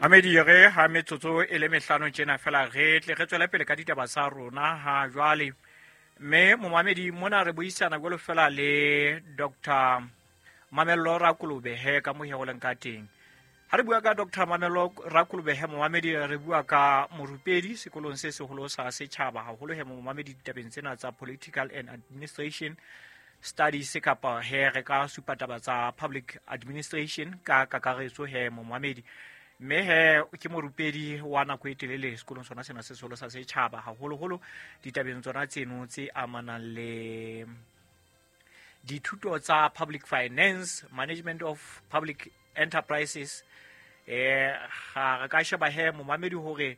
Mamedi, re ha metsotso e le mehlano tjena fela re tle re tswele pele ka ditaba tsa rona ha jwale. Mme momamedi, mona re buisana jwalo fela le Dr Mamello Rakolobehe ka mohe go leng ka teng. Ha re bua ka Dr Mamello Rakolobehe, momamedi, re bua ka morupedi sekolong se seholo sa setjhaba, haholo he momamedi ditabeng tsena tsa political and administration studies, kapa he re ka supa taba tsa public administration ka kakaretso he momamedi. Mme he ke morupedi wa nako e telele sekolong sona sena se seholo sa setjhaba, haholoholo ditabeng tsona tseno tse amanang le dithuto tsa public finance, management of public enterprises. Ga re ka sheba he momamedi hore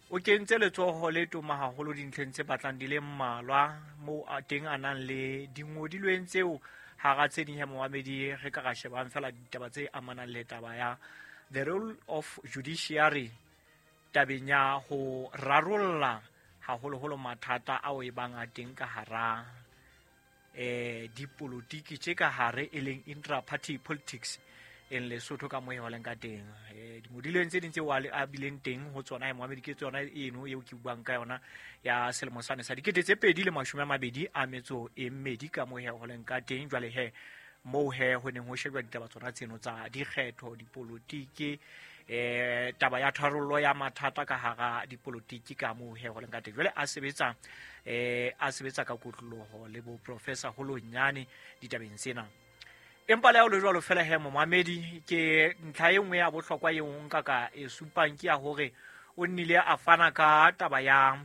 o kentse letsoho le toma haholo dintlheng tse batlang di le mmalwa moo a teng a nang le dingodilweng tseo. Hara tse ding he momamedi, re ka ra shebang fela ditaba tse amanang le taba ya the role of judiciary tabeng ya ho rarolla haholoholo mathata ao e bang a teng ka hara dipolotiki tse ka hare, e leng intra-party politics in Lesotho ka moe leng ka teng. Dingodilweng tse ding tseo a bileng teng ho tsona momamedi ke tsona eno eo ke buang ka yona ya selemo sane sa 2022 ka moe ho leng ka teng. Jwale he moo he ho neng ho shebjwa ditaba tsona tseno tsa dikgetho, dipolotiki, taba ya tharollo ya mathata ka hara dipolotiki ka moo he ho leng ka teng. Jwale a sebetsa ka kotloloho le bo Professor Holonyane ditabeng tsena. Empa le ha o le jwalo fela he momamedi, ke ntlha e nngwe ya bohlokwa eo nka ka e supang ke ya hore o nnile a fana ka taba ya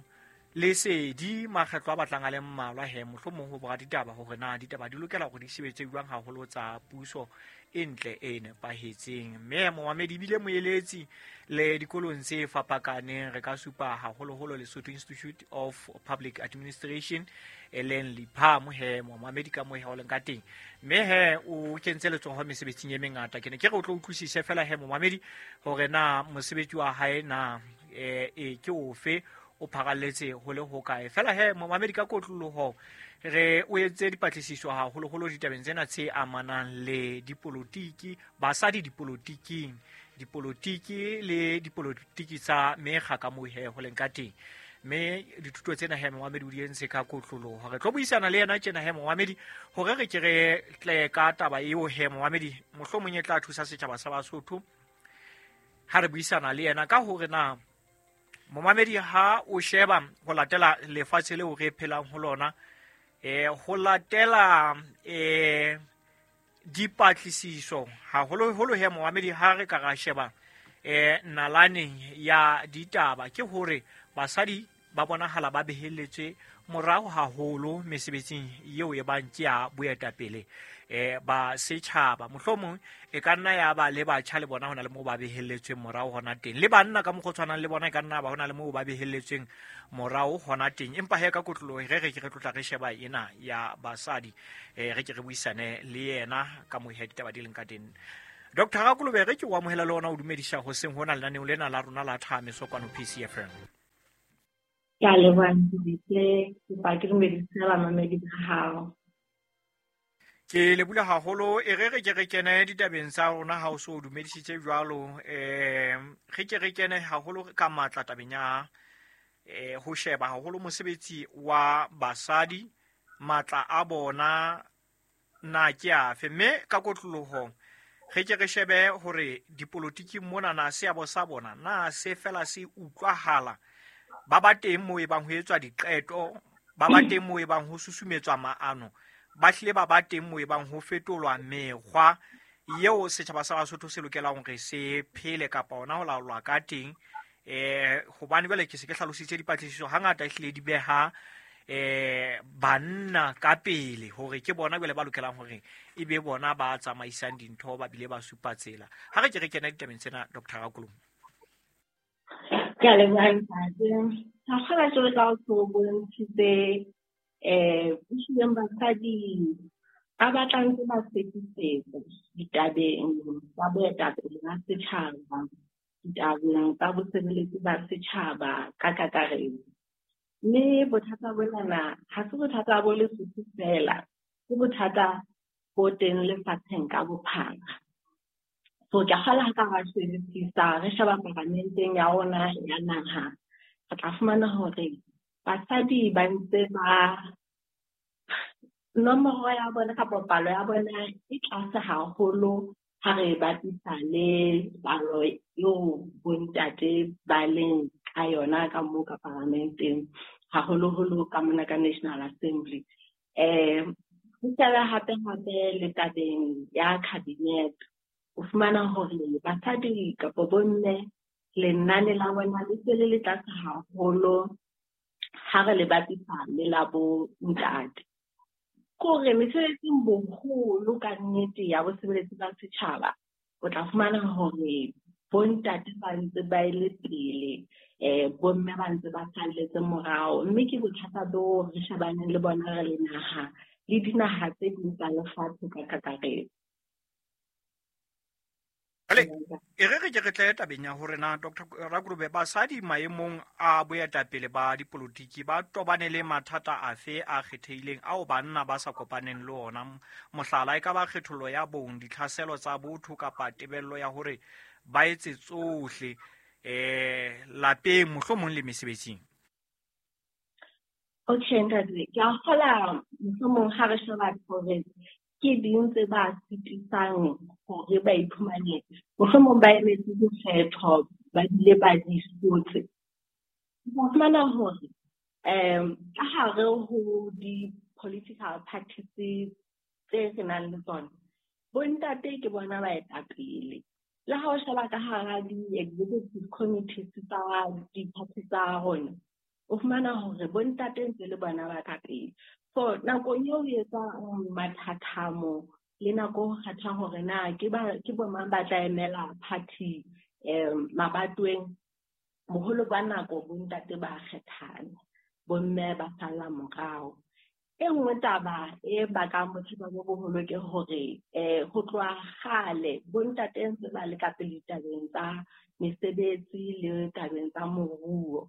lesedi makgetlo a batlang a le mmalwa he mohlomong ho bora ditaba hore na ditaba di lokela hore di sebetse jwang, haholo tsa puso e ntle e nepahetseng. Mme momamedi, ebile moeletsi le dikolong tse fapakaneng, re ka supa haholoholo Lesotho Institute of Public Administration, e leng LIPAM he momamedi ka mohe o leng ka teng. Mme he o kentse letsoho mesebetsing e mengata. Ke ne ke re o tlo utlwisise fela he momamedi hore na mosebetsi wa hae na e ke ofe, o pharalletse ho le hokae. Fela he momamedi, ka kotloloho re o etse dipatlisiso haholoholo ditabeng tsena tse amanang le dipolotiki, basadi dipolotiking, dipolotiki le dipolotiki tsa mekga ka moo he ho leng ka teng. Mme dithuto tsena he momamedi o di entse ka kotloloho. Re tlo buisana le yena tjena he momamedi hore re ke re tle ka taba eo he momamedi, mohlomong e tla thusa setjhaba sa Basotho ha re buisana le yena ka hore na momamedi ha o sheba ho latela lefatshe leo re phelang ho lona, ho latela dipatlisiso haholoholo he momamedi, ha re ka ra sheba nalaneng ya ditaba, ke hore basadi ba bonahala ba behelletswe morao haholo mesebetsing eo e bang ke ya boetapele ba setjhaba. Mohlomong e ka nna ya ba le batjha le bona ho na le moo ba behelletsweng morao hona teng, le banna ka mokgwa o tshwanang le bona e ka nna ba ho na le moo ba behelletsweng morao hona teng. Empa he ka kotloloho re ke re tlotla re sheba ena ya basadi, re ke re buisane le yena ka moo he ditaba di leng ka teng. Dr Rakolobe, re ke o amohela le ona o dumedisa hoseng hona lenaneong lena la rona la Thameso kwano PCFM. Ke a leboha ntate, kopa ke dumedise bamamedi ba hao. Ke lebula haholo. E re re ke re kene ditabeng tsa rona ha o so o dumedisitse jwalo. Re ke re kene haholo ka matla tabeng ya ho sheba haholo mosebetsi wa basadi, matla a bona na ke afe, mme ka kotloloho re ke re shebe hore dipolotiking mona na seabo sa bona na se fela se utlwahala, ba ba teng moo e bang ho etswa diqeto, ba ba teng moo e bang ho susumetswa maano, ba hlile ba ba teng moo e bang ho fetolwa mekgwa eo setjhaba sa Basotho se lokelang hore se phele kapa ona ho laolwa ka teng. Hobane jwale ke se ke hlalositse, dipatlisiso hangata ehlile di beha banna ka pele hore ke bona jwale ba lokelang hore e be bona ba tsamaisang dintho, ba bile ba supa tsela. Ha re ke re kena ditabeng tsena, Dr Rakolong. Ke a leboha ntate. Ha kgola jwalo ka o so bontshitse, ehlileng basadi ba batla ntse ba sekisetsa ditabeng tsa boetapele ba setjhaba, ditabeng tsa bosebeletsi ba setjhaba ka kakaretso. Mme bothata bonana ha se bothata bo Lesotho fela, ke bothata bo teng lefatsheng ka bophara. So ke a kgolwa ha ka ra shebisisa re sheba paramenteng ya rona ya naha, re tla fumana hore basadi ba ntse ba nomoro ya bona kapa palo ya bona e tlase haholo ha re bapisa le palo eo bontate ba leng ka yona ka moo ka paramenteng, haholoholo ka mona ka National Assembly. Ho shebe hape hape le tabeng ya cabinet, o fumana hore basadi kapa bomme lenane la bona le se le le tlase haholo ha re le bapisa le la bo ntate. Kore mesebetsing boholo ka nnete ya bosebeletsi ba setjhaba, o tla fumana hore bontate ba ntse ba ile pele, bomme ba ntse ba salletse morao, mme ke bothata bo re shebaneng le bona re le naha le dinaha tse ding tsa lefatshe ka kakaretso. Jwale e re re ke re tle tabeng ya hore na Dr. Rakurobe, basadi maemong a boetapele ba dipolotiki ba tobane le mathata afe a kgethehileng ao banna ba sa kopaneng le ona? Mohlala e ka ba kgethollo ya bong, ditlhaselo tsa botho kapa tebello ya hore ba etse tsohle lapeng mohlomong le mesebetsing. Okay, ntate, ke a kgola mohlomong ha re sheba hore ke ding tse ba sitisang hore ba iphumane mohlomong ba emetse dikgetho ba bile ba di hlotse. O fumana hore ka hare ho di-political parties tse re nang le tsona, bontate ke bona baetapele. Le ha o sheba ka hara di-executive committees tsa di-party tsa rona, o fumana hore bontate ntse le bona ba ka pele. So nakong eo o etsang mathathamo le nako ho kgetha hore na ke bo mang ba tla emela party mabatoweng, boholo ba nako bontate ba kgethana, bomme ba salla morao. E nngwe taba e bakang bothata bo boholo ke hore ho tloha kgale bontate ntse ba le ka pele ditabeng tsa mesebetsi le tabeng tsa moruo.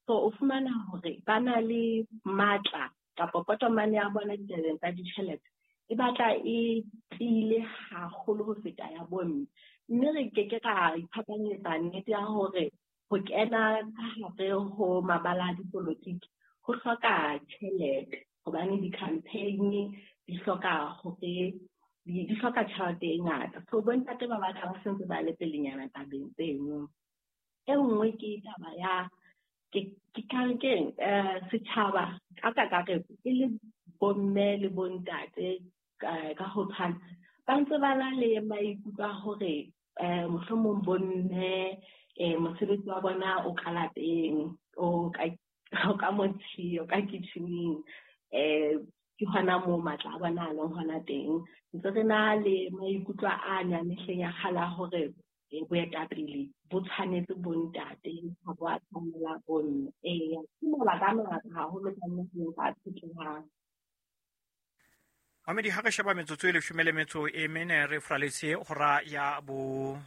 So o fumana hore ba na le matla kapa potomane ya bona ditabeng tsa ditjhelete e batla e tiile haholo ho feta ya bomme. Mme re ke ke ra iphapanyetsa nnete ya hore ho kena ka hare ho mabala a dipolotiki ho hloka tjhelete, hobane di-campaign di hloka hore di hloka tjhelete e ngata. So bontate ba batla ba sentse ba le pelenyana tabeng tseno. E nngwe ke taba ya ke keng setjhaba ka kakaretso e le bomme le bontate ka ho tshwana, ba ntse ba na le maikutlo a hore mohlomong bomme mosebetsi wa bona o ka lapeng, o ka motsheo, o ka kitcheneng, ke hona moo matla a bona a leng hona teng. Ntse re na le maikutlo a ne a mehleng ya kgale a hore boetapele bo tshwanetse bontate, ha bo a tshwanela bomme. Eya, ke mabaka a mangata haholo ka nnete a tshetlehang. Mamedi, ha re sheba metsotso e 14 re fraletse hora ya bo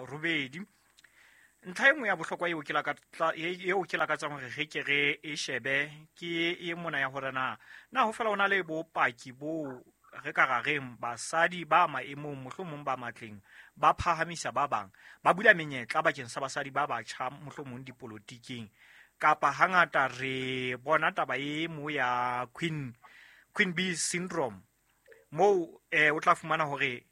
robedi. Ntlha e nngwe ya bohlokwa eo ke lakatsang hore re ke re e shebe ke e mona ya hore na ho fela ho na le bopaki bo re ka ra reng basadi ba maemong mohlomong ba matleng ba phahamisa ba bang, ba bula menyetla bakeng sa basadi ba batjha mohlomong dipolotiking, kapa hangata re bona taba e mo ya Queen Bee syndrome moo o tla fumana hore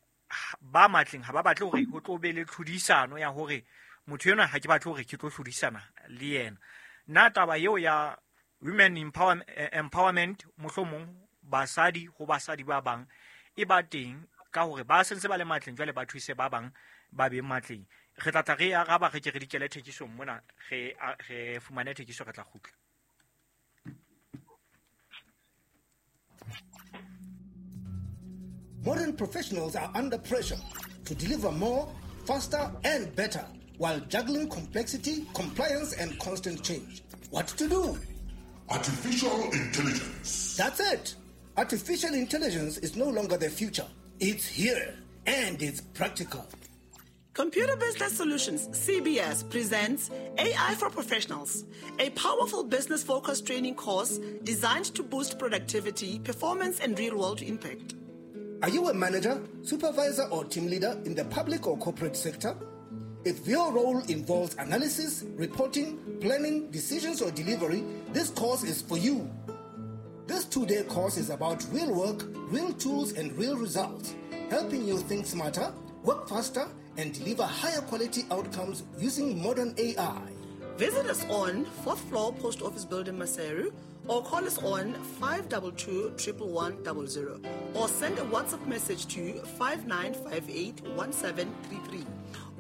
ba matleng ha ba batle hore ho tlo be le tlhodisano ya hore motho enwa ha ke batle hore ke tlo hlodisana le yena. Na taba eo ya women empowerment mohlomong basadi ho basadi ba bang e ba teng ka hore ba sentse ba le matleng jwale ba thuse ba bang ba be matleng. Re tla tla re araba re ke re dikele thekisong mona, re fumane thekiso, re tla kgutla. Modern professionals are under pressure to deliver more, faster and better while juggling complexity, compliance and constant change. What to do? Artificial intelligence. That's it. Artificial intelligence is no longer the future. It's here and it's practical. Computer Business Solutions, CBS, presents AI for Professionals, a powerful business-focused training course designed to boost productivity, performance, and real-world impact. Are you a manager, supervisor, or team leader in the public or corporate sector? If your role involves analysis, reporting, planning, decisions, or delivery, this course is for you. This 2-day course is about real work, real tools, and real results, helping you think smarter, work faster, and deliver higher quality outcomes using modern AI. Visit us on 4th floor Post Office Building, Maseru, or call us on 522 11100 or send a WhatsApp message to 5958 1733.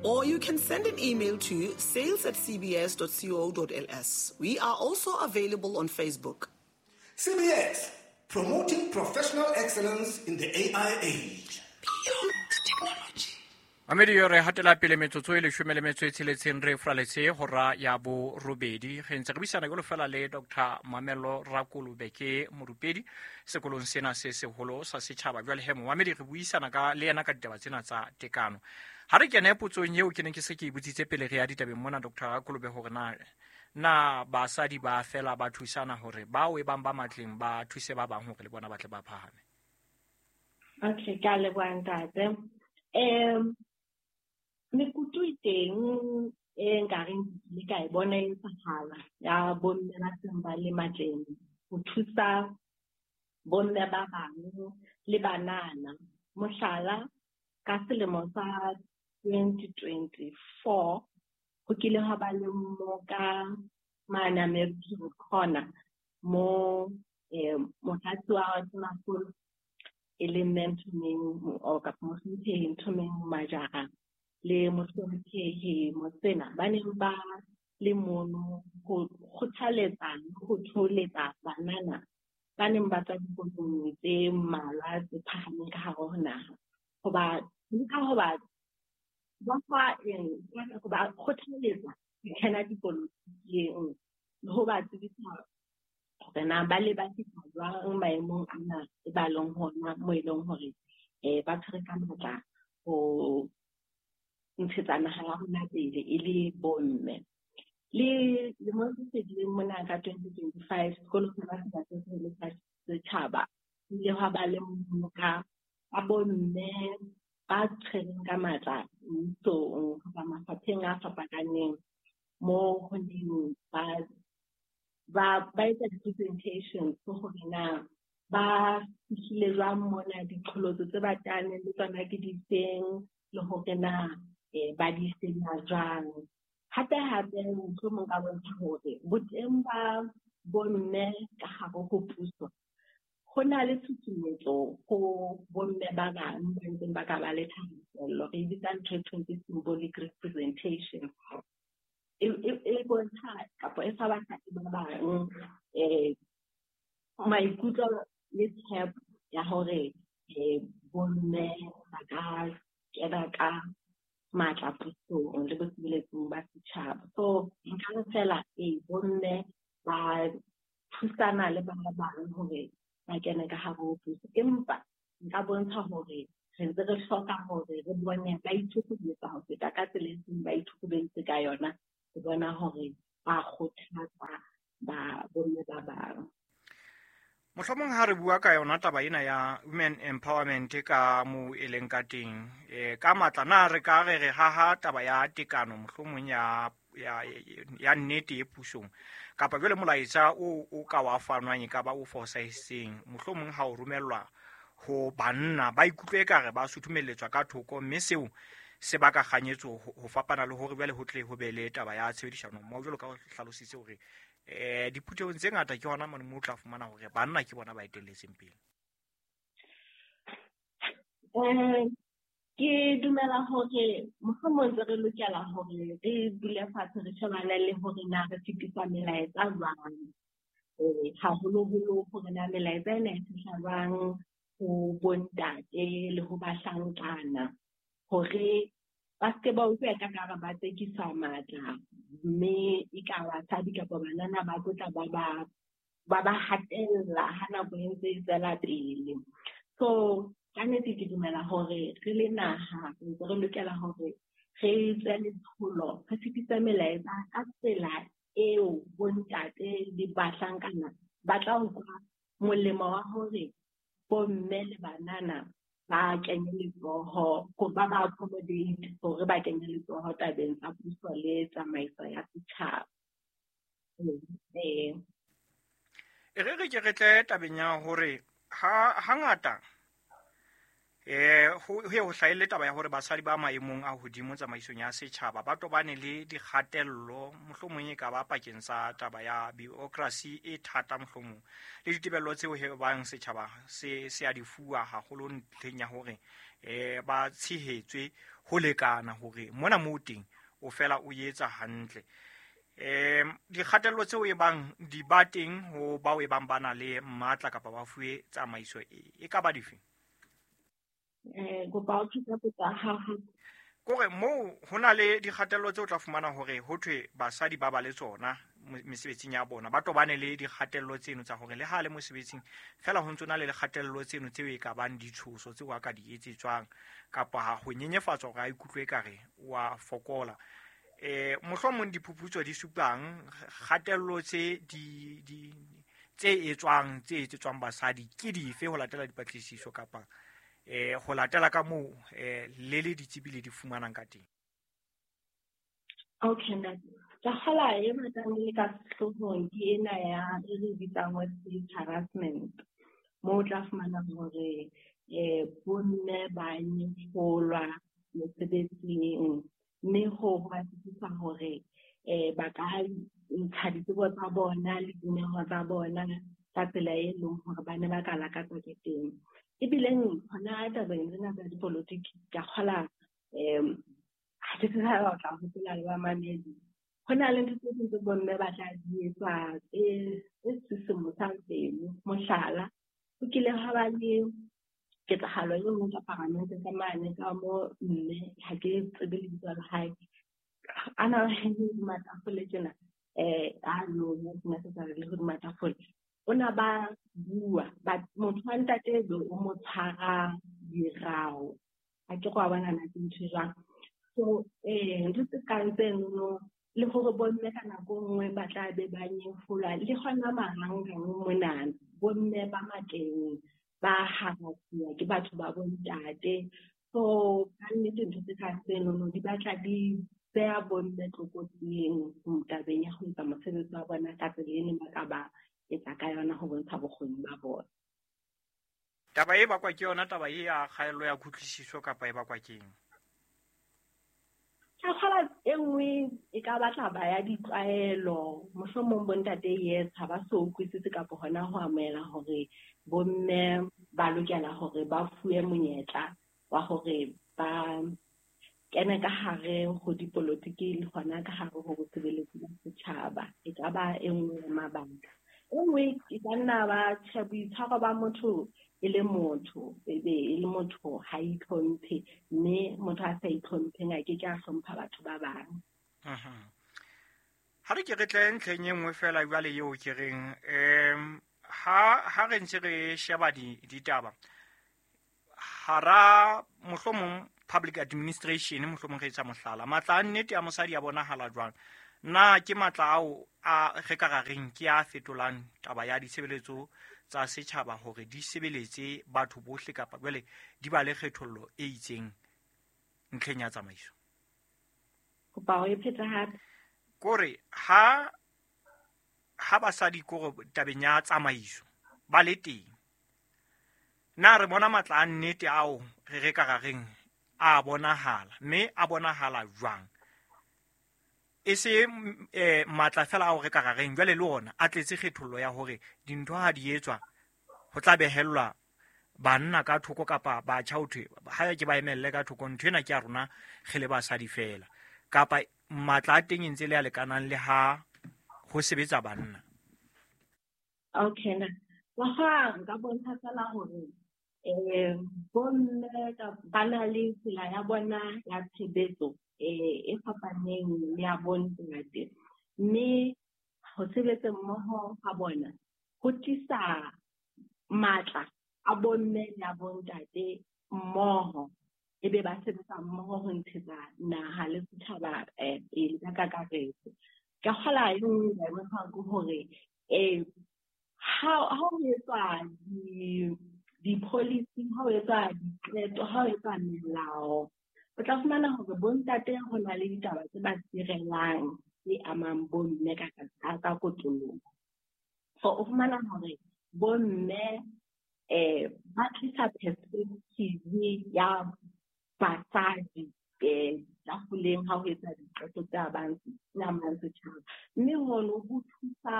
Or you can send an email to sales@cbs.co.ls. We are also available on Facebook. CBS, promoting professional excellence in the AI age. Beyond technology. Mamedi yo re hatela pele metsotso e 16 re fraletse hora ya borobedi re ntse re buisana jwalo fela le Dr. Mamello Rakolobe ke morupedi sekolong sena se seholo sa setjhaba. Jwale he momamedi re buisana ka le yena ka ditaba tsena tsa tekano. Ha re kene potsong eo ke neng ke se ke e botsitse pele re ya ditabeng mona Dr. Rakolobe hore na basadi ba fela ba thusana hore bao e bang ba matleng ba thuse ba bang hore le bona ba tle ba phahame. Okay, ka leboha ntate. Mekutu e teng e nkareng ke ka e bona e etsahala ya bomme ba seng ba le matleng ho thusa bomme ba bang le banana. Mohlala, ka selemo sa 2024 ho kile ha ba le mmoka mane American Corner mo motlatsi wa Tonakgolo e leng Mme Nthomeng or kapa Mohlomphehi Nthomeng Majara le Mohlomphehi Motsena ba neng ba le mono ho kgothaletsa le ho thoholetsa banana ba neng ba tswa dikolong tse mmalwa tse phahameng ka hare ho naha. Hoba leka ho ba fa eng, ho ba kgothaletsa ho kena dipolotiking le ho ba tsebisa hore na ba le ba fihla jwang maemong ana e ba leng hona mo e leng hore ba tshwere ka matla ho ntshetsa naha ya rona pele e le bomme. Le lemong se fetileng mona ka 2025 sekolo sena se seholo sa setjhaba ho ile hwa ba le mmoka wa bomme ba tshwereng ka matla mmusong kapa mafapheng a fapakaneng mo ho neng ba etsa di-presentations hore na ba fihlile jwang mona, diqholotso tse ba teaneng le tsona ke difeng, le hore na ba di fenya jwang. Hape hape mohlomong ka bontsha hore boteng ba bomme ka hare ho puso ho na le tshusumetso ho bomme ba bang ba ntseng ba ka ba le thahasello. Re e bitsa ntho e thweng ke symbolic representation. E bontsha kapa e fa basadi ba bang maikutlo le tshepo ya hore bomme ba ka kena ka matla pusong le bosebeletsing ba setjhaba. So nka re fela bomme ba thusana le ba bang hore ba kene ka hare ho puso, empa nka bontsha hore re ntse re hloka hore re bone ba ithukuletsa ho feta ka tsela e seng ba ithukuleditse ka yona, ho bona hore ba kgothatsa ba bomme ba bang. Mohlomong ha re bua ka yona taba ena ya women empowerment ka mo e leng ka teng, ka matla na re ka re re haha taba ya tekano mohlomong ya nnete e pusong, kapa jwale molaetsa o ka wa fanwang e ka ba o fosahetseng, mohlomong ha o romellwa ho banna ba ikutlwe ekare ba sutumelletswa ka thoko, mme seo se baka kganyetso ho fapana le hore jwale ho tle ho be le taba ya tshebedisano mmoho, jwalo ka ho hlalositse hore diphuthehong tse ngata ke hona mane moo o tla fumana hore banna ke bona ba etelletseng pele. Ke dumela hore mohlomong ntse re lokela hore re dule fatshe re shebane le hore na re fetisa melaetsa jwang, haholoholo hore na melaetsa ena e fihla jwang ho bontate le ho bahlankana, hore ba se ke ba utlwa ka kare ba tsekiswa matla, mme e ka basadi kapa banana ba tlotla ba hatella ha nako e ntse e tswela pele. So ka nnete ke dumela hore re le naha ntse re lokela hore re tswe letsholo, re fetise melaetsa ka tsela eo bontate le bahlankana ba tla utlwa molemo wa hore bomme le banana ba kenye letsoho, ba ba accommodate hore ba kenye letsoho tabeng tsa puso le tsamaiso ya setjhaba. E re re ke re tle tabeng ya hore ha hangata ho hlahelle taba ya hore basadi ba maemong a hodimo tsamaisong ya setjhaba ba tobane le dikgatello, mohlomong e ka ba pakeng tsa taba ya bureaucracy e thata, mohlomong le ditebello tseo he bang setjhaba se a di fuwa haholo ntlheng ya hore ba tshehetswe ho lekana hore mona moo teng o fela o etsa hantle. Dikgatello tseo e bang di ba teng ho bao e bang ba na le matla kapa ba fuwe tsamaiso e ka ba dife? Kore moo ho na le dikgatello tseo tla fumana hore ho thwe basadi ba ba le tsona mesebetsing ya bona, ba tobane le dikgatello tseno tsa hore le ha le mosebetsing fela ho ntso na le dikgatello tseno tseo e ka bang ditshoso tseo a ka di etsetswang kapa ha ho nyenyefatswa hore a ikutlwe ekare wa fokola. Mohlomong diphuputso di supang kgatello tse di tse etswang tse etsetswang basadi ke dife ho latela dipatlisiso kapa ho latela ka moo le le ditsebi le di fumanang ka teng? Okay, ntate. Ka kgola e batlang le ka sehloohong ke ena ya e re bitsang workplace harassment, moo o tla fumana hore bomme ba nyefolwa mesebetsing, mme ho ba sitisa hore ba ka ntsha ditsebo tsa bona le dineho tsa bona ka tsela e leng hore ba ne ba ka lakatsa ke teng. Ebileng hona tabeng tsena tsa dipolotiki ka kgola ha ke tsebe ha o tla hopola le bamamedi, ho na le ntho tse ding tse bomme ba tla di etsa tse sisimosang pelo. Mohlala, ho kile ha ba le ketsahalo e nngwe ka paramente ka mane ka mo mme, ha ke tsebe lebitso la hae, a na le matafole tjena, a no sena se sa le hodima tafole. O na ba bua, motho wa ntate be o mo tshwara dirao. Ha ke go a bona na ke ntho e jwang. So ntho tse kang tseno, le hore bomme ka nako nngwe ba tla be ba nyefolwa, le hona marangrang monana, bomme ba matleng ba harasuwa ke batho ba bontate. So ka nnete ntho tse kang tseno di batla di beha bomme tlokotsing tabeng ya ho etsa mosebetsi wa bona ka tsela e neng ba ka ba etsa ka yona ho bontsha bokgoni ba bona. Taba e bakwa ke yona taba e ya kgaello ya kutlwisiso kapa e bakwa ke eng? Ka kgola e nngwe e ka batla ba ya ditlwaelo, mohlomong bontate yes ha ba so utlwisise kapa hona ho amohela hore bomme ba lokela hore ba fuwe monyetla wa hore ba kene ka hare ho dipolotiki le hona ka hare ho bosebeletsi ba setjhaba. E ka ba e nngwe ya mabaka. E nngwe e ka nna ba tjhe boitshwaro ba motho e le motho, ebe e le motho ha itlhomphe, mme motho a sa itlhompheng a ke ke a hlompha batho ba bang. Ha re ke re tle ntlheng e nngwe fela jwale eo ke reng ha re ntse re sheba ditaba hara mohlomong public administration, mohlomong re etsa mohlala, matla a nnete a mosadi a bonahala jwang? Na ke matla ao a re ka ra reng ke a fetolang taba ya ditshebeletso tsa setjhaba hore di sebeletse batho bohle kapa jwale di ba le kgethollo e itseng ntlheng ya tsamaiso? Kopa o e phete hape. Kore ha basadi kore tabeng ya tsamaiso ba le teng, na re bona matla a nnete ao re ka ra reng a bonahala, mme a bonahala jwang? E se matla fela ao re ka ra reng jwale le ona a tletse kgethollo ya hore dintho ha di etswa ho tla behellwa banna ka thoko kapa batjha ho thwe ha ke ba emelle ka thoko, ntho ena ke ya rona re le basadi fela, kapa matla a teng e ntse le a lekanang le ha ho sebetsa banna? Okay, na wa nka bontsha fela hore bomme ba na le tsela ya bona ya tshebetso e fapaneng le ya bontate, mme ho sebetsa mmoho ha bona ho tlisa matla a bomme le a bontate mmoho, ebe ba sebetsa mmoho ho ntshetsa naha le setjhaba pele ka kakaretso. Ka kgola e nngwe e bontshang ke hore ha ho etswa di-policy, ha ho etswa diqeto, ha ho etswa melao, o tla fumana hore bontate ho na le ditaba tse ba sirelang tse amang bomme ka kotloloho. So o fumana hore bomme ba tlisa perspective ya basadi tafoleng ha ho etsa diqeto tse amang setjhaba. Mme hono ho thusa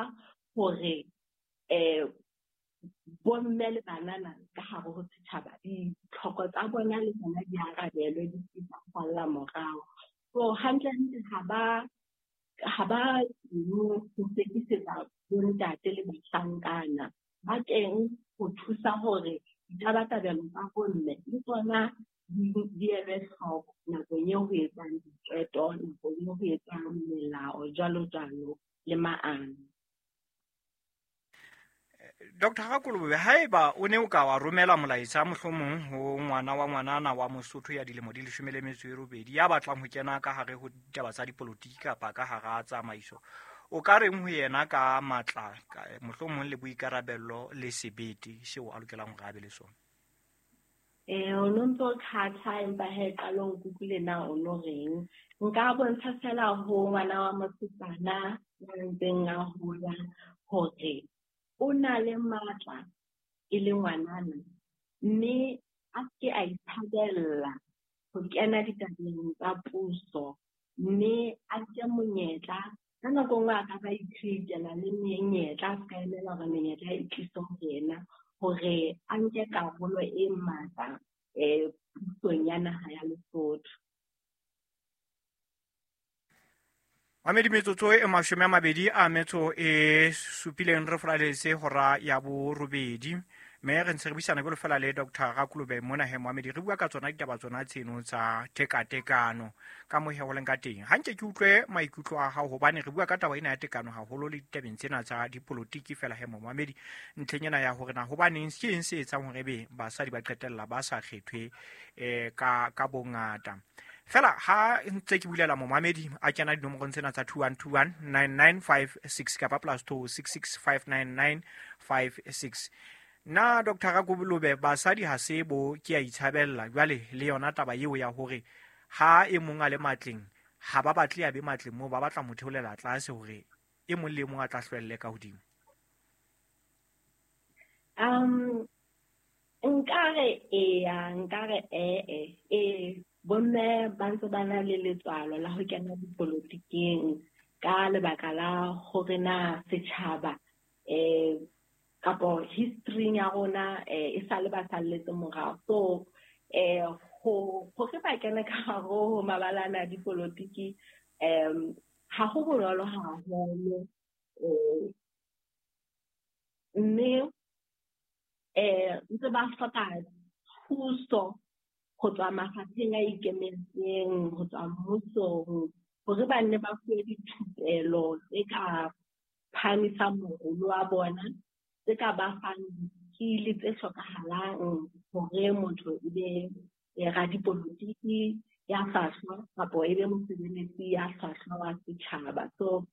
hore bomme le banana ka hare ho setjhaba ditlhoko tsa bona le tsona di arabelwe, di se tsa salla morao. So hantlentle ha ba ho sekisetsa bontate le bahlankana, ba teng ho thusa hore ditabatabelo tsa bomme le tsona di elwe hloko nakong eo ho etswang diqeto, nakong eo ho etswang melao, jwalo jwalo le maano. Dr. Rakolobe, haeba o ne o ka wa romela molaetsa mohlomong ho ngwana wa ngwanana wa Mosotho ya dilemo di 18 ya batlang ho kena ka hare ho ditaba tsa dipolotiki kapa ka hara tsamaiso, o ka reng ho yena ka matla, mohlomong le boikarabello le sebete seo a lokelang hore a be le sona? O no ntso khatha empa he qalong kutlwile na o no reng. Nka bontsha fela ho ngwana wa mosetsana ya ntseng a hola hore o na le matla e le ngwanana, mme a ke a itshabella ho kena ditabeng tsa puso, mme a nke monyetla. Ka nako nngwe a ka ba i-create-ela le menyetla, a ska emela hore menyetla e tlise ho yena, hore a nke karolo e matla pusong ya naha ya Lesotho. Mamedi, metsotso e 27 re folaletse hora ya borobedi, mme re ntse re buisana jwalo fela le Dr. Rakolobe mona he Mohamedi, re bua ka tsona ditaba tsona tseno tsa tekatekano ka moo he ho leng ka teng. Ha nke ke utlwe maikutlo a hao, hobane re bua ka taba ena ya tekano haholo le ditabeng tsena tsa dipolotiki fela he Mohamedi, ntlheng ena ya hore na hobaneng ke eng se etsang hore ebe basadi ba qetella ba sa kgethwe ka bongata. Fela ha ntse ke bulela momamedi a kena dinomorong tsena tsa 2121 9956 kapa +2 6659956. Na Dr. Rakolobe, basadi ha se bo ke a itshabella jwale le yona taba eo ya hore ha e mong a le matleng ha ba batle a be matleng moo, ba batla mo theolela tlase hore e mong le mong a tla hlwelle ka hodimo? Nkare eya, nkare ee bomme ba ntse ba na le letswalo la ho kena dipolotikeng ka lebaka la hore na setjhaba kapo history ya rona e sale ba salletse morao. So hore ba kene ka hare ho mabalana a dipolotiki ha ho bonolo haholo, mme ntse ba hloka thuso ho tswa mafapheng a ikemetseng, ho tswa mmusong, hore ba nne ba fuwe dithupelo tse ka phahamisang morolo wa bona, tse ka ba fang di-skill tse hlokahalang hore motho e be radipolotiki ya hlwahlwa kapo e be mosebeletsi ya hlwahlwa wa setjhaba. So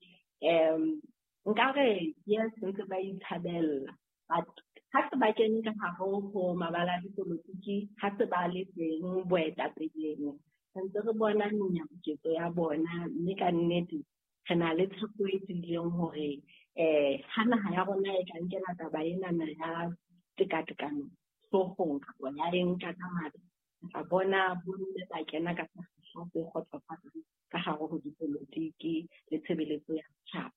nkare yes, ntse ba itshabella, but ha se ba kene ka hare ho mabala a dipolotiki, ha se ba le teng boetapeleng, re ntse re bona menyabuketso ya bona, mme ka nnete re na le tshepo e tiileng hore ha naha ya rona e ka nkela taba enana ya tekatekano hloohong kapa ya e nka ka matla, re tla bona bomme ba kena ka sekgahla se kgotsofatsang ka hare ho dipolotiki le tshebeletso ya setjhaba.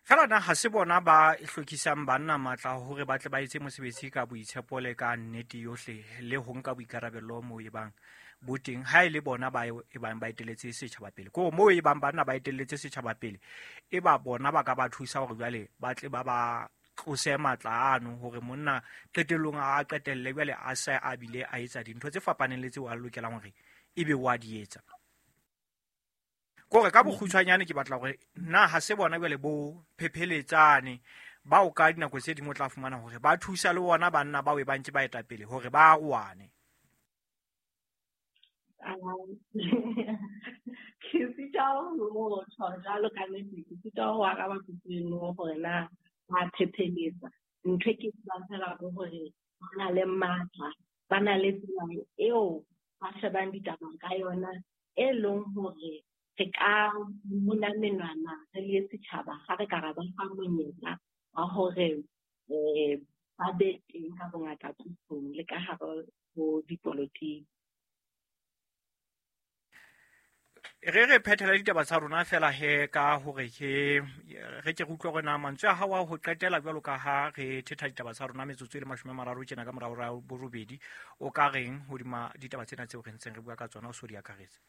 Fela na ha se bona ba hlokisang banna matla hore ba tle ba etse mosebetsi ka boitshepo le ka nnete yohle le ho nka boikarabello moo e bang bo teng, ha e le bona ba e bang ba etelletse setjhaba pele? Ko moo e bang banna ba etelletse setjhaba pele, e ba bona ba ka ba thusa hore jwale ba tle ba ba tlose matla ano hore monna qetellong a qetelle jwale a se a bile a etsa dintho tse fapaneng le tseo a lokelang hore ebe wa di etsa. Kore ka bokgutshwanyane ke batla hore na ha se bona jwale bo phepheletsane bao ka dinako tse dingwe o tla fumana hore ba thusa le bona banna bao e ba ntse ba etapele hore ba aroane. Ke sitwa ho tjho jwalo ka nnete, ke sitwa ho araba potso eno hore na ba phepheletsa. Ntho e ke tsebang fela ke hore na le matla, ba na le tsela eo ba shebang ditaba ka yona e leng hore re ka mona menwana re le setjhaba ha re ka ra ba fa monyetla wa hore ba be teng ka bongata pusong le ka hare ho dipolotiki. Re phethela ditaba tsa rona fela he ka hore ke re ke utlwe hore na mantswe a hao a ho qetela jwalo ka ha re thetha ditaba tsa rona metsotso e le 30 tjena ka morao ra borobedi, o ka reng hodima ditaba tsena tseo re ntseng re bua ka tsona o so di akaretse?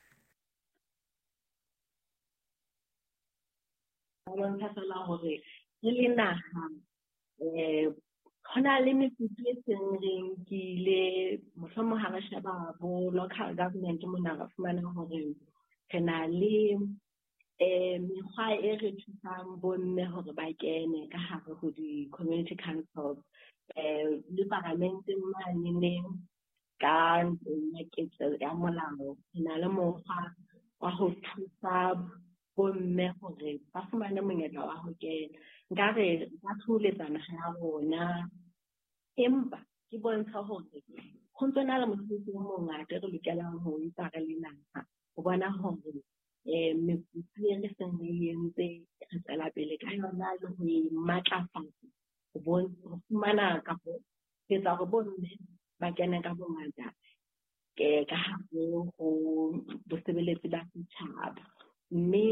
Bontsha fela hore re le naha ho na le mekutu e seng re nkile, mohlomong ha re sheba bo local government mona re fumana hore re na le mekgwa e re thusang bomme hore ba kene ka hare ho di-community councils, le paramenteng maneneng ka ntlong ya ketso ya molao re na le mokgwa wa ho thusa bomme hore ba fumane monyetla wa ho kena. Nkare ba thoholetsa naha ya rona, empa ke bontsha hore ho ntso na le mosebetsi o mongata re lokelang ho etsa re le naha ho bona hore mekutu e re seng re entse re tswela pele ka yona le ho e matlafatsa, ho fumana kapo ho etsa hore bomme ba kene ka bongata ka hare ho bosebeletsi ba setjhaba. Mme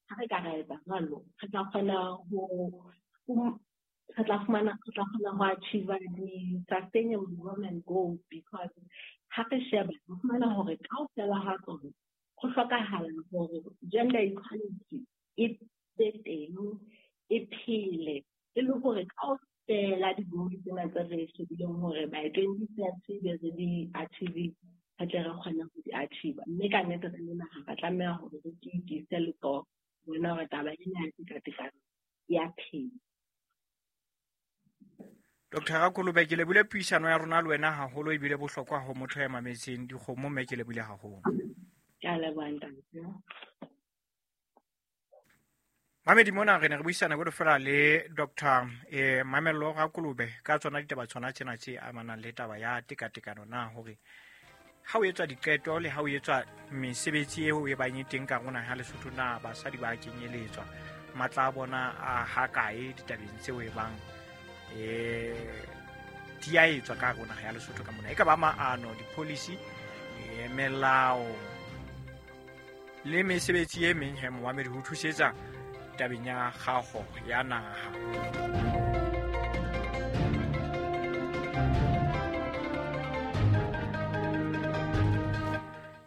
ha re ka ra etsa jwalo, re tla kgona ho achieve di-sustainable development goals, because ha re sheba re fumana hore kaofela ha tsona ho hlokahala hore gender equality e be teng, e phele, e le hore kaofela di-goals tsena tse re shebileng hore by 2030 be re di achieve, re tle re kgone ho di achieve. Mme ka nnete re le naha re tlameha hore re tiise letsoho bona hore taba ena ya tekatekano ya phela. Dr. Rakolobe, ke lebile puisano ya rona le wena haholo, ebile bohlokwa ho motho ya mametseng dikgomo, mme ke lebile haholo. Ke a leboha ntate. Mamedi mona re ne re buisana jwalo fela le Dr. Mamello Rakolobe ka tsona ditaba tsona tsena tse amanang le taba ya tekatekano, na hore ha o etswa diqeto le ha o etswa mesebetsi eo e bang e teng ka rona ha Lesotho, na basadi ba kenyeletswa, matla a bona a hakae ditabeng tseo e bang di a etswa ka rona ya Lesotho ka mona, e ka ba maano, di-policy, melao le mesebetsi e meng he moamedi ho thusetsa tabeng ya kgaho ya naha.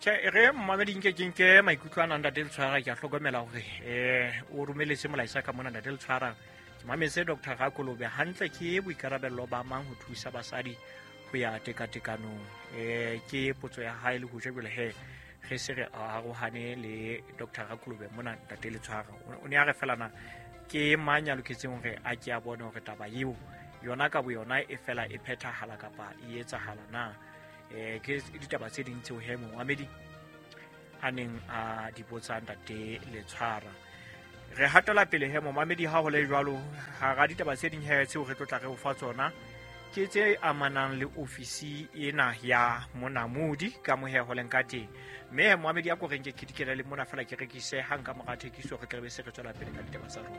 Tjhe, re mmamedi nke ke nke maikutlo a nang Ntate Letshwara, ke a hlokomela hore o romeletse molaetsa ka mona Ntate Letshwara. Ke mametse Dr. Rakolobe hantle, ke boikarabello ba mang ho thusa basadi ho ya tekatekanong? Ke potso ya hae le ho jwale he re se re arohane le Dr. Rakolobe mona Ntate Letshwara. O ne a re fela na ke mang ya loketseng hore a ke a bone hore taba eo yona ka boyona e fela e phethahala kapa e etsahala na? Ke ditaba tse ding tseo he moamedi a neng a di botsa Ntate Letshwara. Re hatela pele he momamedi, ha ho le jwalo hara ditaba tse ding he tseo re tlo tla re o fa tsona ke tse amanang le ofisi ena ya monamodi ka mohe ho leng ka teng. Mme he moamedi a ko reng ke khidikela le mona fela ke rekise hang ka mora thekiso, re tla be se re tswela pele ka ditaba tsa rona.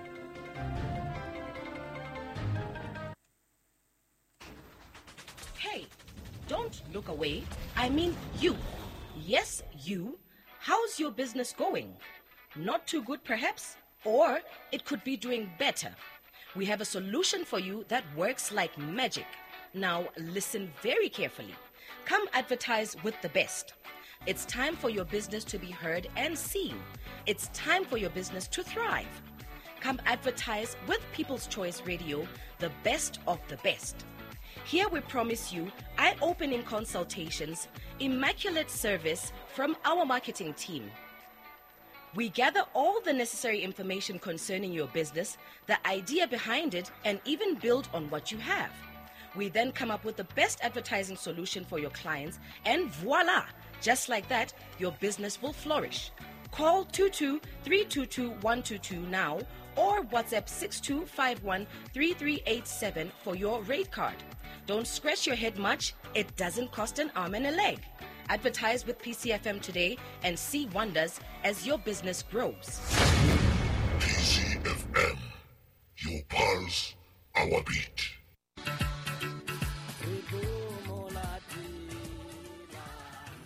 Hey, don't look away. I mean you. Yes, you. How's your business going? Not too good, perhaps? Or it could be doing better. We have a solution for you that works like magic. Now, listen very carefully. Come advertise with the best. It's time for your business to be heard and seen. It's time for your business to thrive. Come advertise with People's Choice Radio, the best of the best. Here we promise you eye-opening consultations, immaculate service from our marketing team. We gather all the necessary information concerning your business, the idea behind it, and even build on what you have. We then come up with the best advertising solution for your clients, and voila! Just like that, your business will flourish. Call 22-322-122 now or WhatsApp 6251-3387 for your rate card. Don't scratch your head much, it doesn't cost an arm and a leg. Advertise with PCFM today and see wonders as your business grows. PCFM, your pulse, our beat.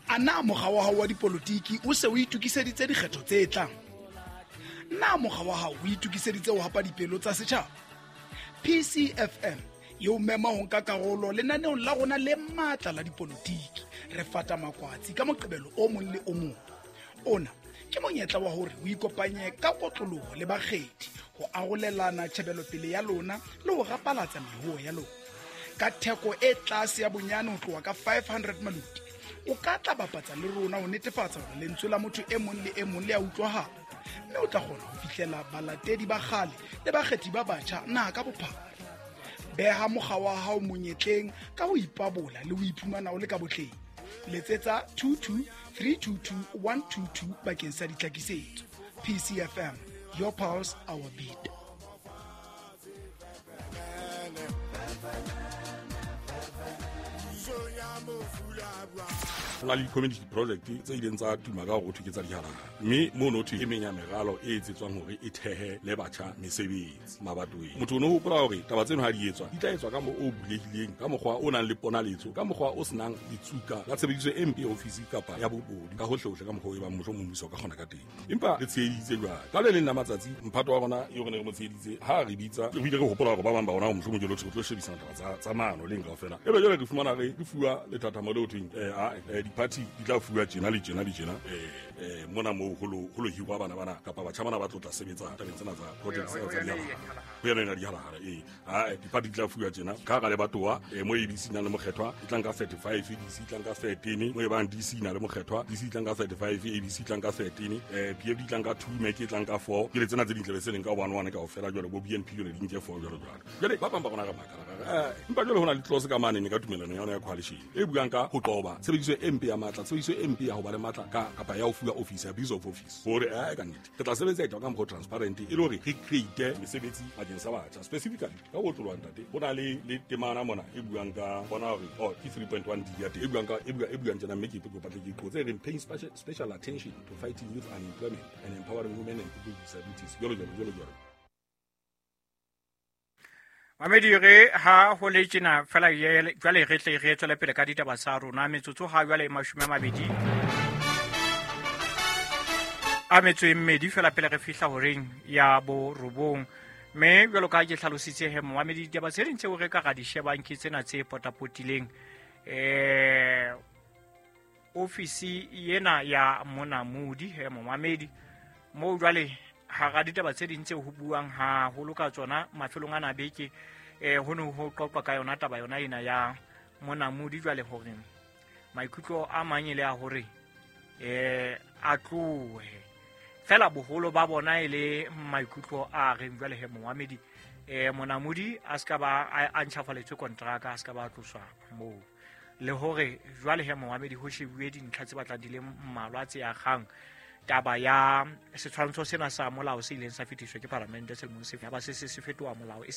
A na mokga wa hao wa dipolotiki o se o itokiseditse dikgetho tse tlang? Na mokga wa hao o itokiseditse ho hapa dipelo tsa setjhaba? PCFM e o mema ho nka karolo lenaneong la rona le matla la dipolotiki. Re fata makwatsi ka Moqebelo o mong le o mong. Ona ke monyetla wa hore o ikopanye ka kotloloho le bakgethi ho arolelana tjhebelopele ya lona le ho rapalatsa mehuo ya lona ka theko e tlase ya bonyane ho tloha ka 500 maluti. O ka tla bapatsa le rona ho netefatsa hore lentswe la motho e mong le e mong le a utlwahala, mme o tla kgona ho fihlela balatedi ba kgale le bakgethi ba batjha naha ka bophara. Beha mokga wa hao monyetleng ka ho ipabola le ho iphumana o le ka botleng. Letsetsa 22 322 122 bakeng sa ditlhakisetso. PCFM, your pulse, our beat. Ho na le di-community project tse ileng tsa tuma ka hore ho thwe ke tsa dihalala, mme mono thwe e meng ya meralo e etsetswang hore e thehe le batjha mesebetsi mabatoweng. Motho o no hopola hore taba tseno ha di etswa di tla etswa ka mo o bulehileng, ka mokgwa o nang le ponaletso, ka mokgwa o senang ditsuka la tshebediso e mpe ya ofisi kapa ya bobodu ka hohlehohle, ka mokgwa o e bang mohlomong mmuso o ka kgona ka teng. Empa re tsheheditse jwale ka le leng la matsatsi mphato wa rona eo re ne re mo tsheheditse ha re bitsa, re ile re hopola hore ba bang ba rona mohlomong jalo re tlo shebisana taba tsa maano leng kaofela, ebe jwale re fumana re fuwa lethathamo le ho thweng di-party di tla fuwa tjena le tjena le tjena mona moo ho lo hirwa bana bana kapa batjha bana ba tlo tla sebetsa tabeng tsena tsa project tsena tsa dihalala, ho yona yona dihalala. Ee, di-party di tla fuwa tjena ka hara lebatowa mo ABC nang le mokgethwa e tlang ka 35, DC e tlang ka 13, mo e bang DC na le mokgethwa, DC e tlang ka 35, ABC e tlang ka 13, PFD e tlang ka 2, MEC e tlang ka 4, ke le tsena tse dintle be se leng ka 1 1 kaofela. Jwale bo BNP jwale di nke 4 jwalo jwalo. Jwale ba bang ba rona re makala, empa jwale ho na le clause ka mane ka tumelano ya yona ya coalition e buang ka ho qoba tshebediso e mpe ya matla, tshebediso e mpe ya ho ba le matla ka kapa ya ho fuwa office, abuse of office, hore ka nnete re tla sebetsa etwa ka mokgwa o transparent e le hore re create mesebetsi bakeng sa batjha specifically ka ho otloloha. Ntate, ho na le temana mona e buang ka bona hore oh ke 3.1 D ya teng e buang ka e buang tjena, mme ke kopa tle ke qotse, e reng paying special attention to fighting youth unemployment and empowering women and people with disabilities, jwalo jwalo jwalo jwalo. Mamedi, re ha ho le tjena fela jwale re tle re tswele pele ka ditaba tsa rona. Metsotso ha jwale 28 fela pele re fihla horeng ya 9. Mme jwalo ka ha ke hlalositse he momamedi, ditaba tse ding tseo re ka ra di shebang ke tsena tse potapotileng ofisi ena ya Monamodi he momamedi, moo jwale hara ditaba tse ding tseo ho buang haholo ka tsona mafelong ana beke, ho ne ho qoqwa ka yona taba yona ena ya Monamodi. Jwale hore maikutlo a mang e le a hore a tlohe fela, boholo ba bona e le maikutlo a reng jwale he momamedi, Monamodi a ska ba a ntjhafaletswe kontraka, a ska ba tloswa moo, le hore jwale he momamedi ho shebuwe dintlha tse batlang di le mmalwa tse akgang taba ya setshwantsho sena sa molao se ileng sa fetiswa ke palamente selemong se ba se se fetoha molao e.